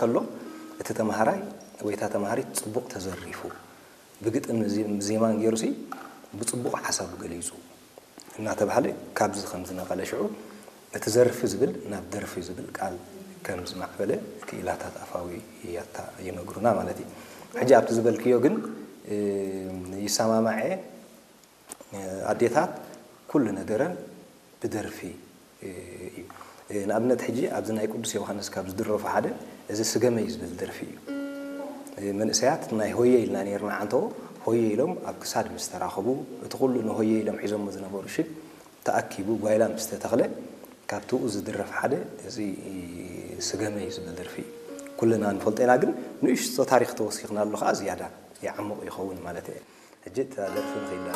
ከሎ እቲ ተምሃራይ ወይ እታ ተምሃሪት ጽቡቕ ተዘሪፉ ብግጥም ዚ- ዜማን ገይሩሲ ብጽቡቕ ሓሳቡ ገሊጹ እናተባህለ ካብዚ ከም ዝነቐለ ሽዑ እቲ ዘርፊ ዝብል ናብ ደርፊ ዝብል ቃል ከም ዝማዕበለ ክኢላታት ኣፋዊ ያታ ይነግሩና ማለት እዩ። ሕጂ ኣብቲ ዝበልክዮ ግን ይሰማማዐ ኣዴታት ኩሉ ነገረን ብደርፊ እዩ። ንኣብነት ሕጂ ኣብዚ ናይ ቅዱስ ዮሃንስ ካብ ዝድረፉ ሓደ እዚ ስገመይ ዝብል ደርፊ እዩ። መንእሰያት ናይ ሆየ ኢልና ነርና ዓንተዎ ሆየ ኢሎም ኣብ ክሳድ ምስ ተራኸቡ እቲ ኩሉ ንሆየ ኢሎም ሒዞሞ ዝነበሩ ሽግ ተኣኪቡ ጓይላ ምስ ተተኽለ ካብቲ ዝድረፍ ሓደ እዚ ስገመይ ዝብል ደርፊ እዩ። ኩልና ንፈልጦ ኢና፣ ግን ንእሽቶ ታሪክ ተወሲኽናሉ ከዓ ዝያዳ ይዓምቕ ይኸውን ማለት እየ። ሕጂ እታ ደርፊ ንኸይዳ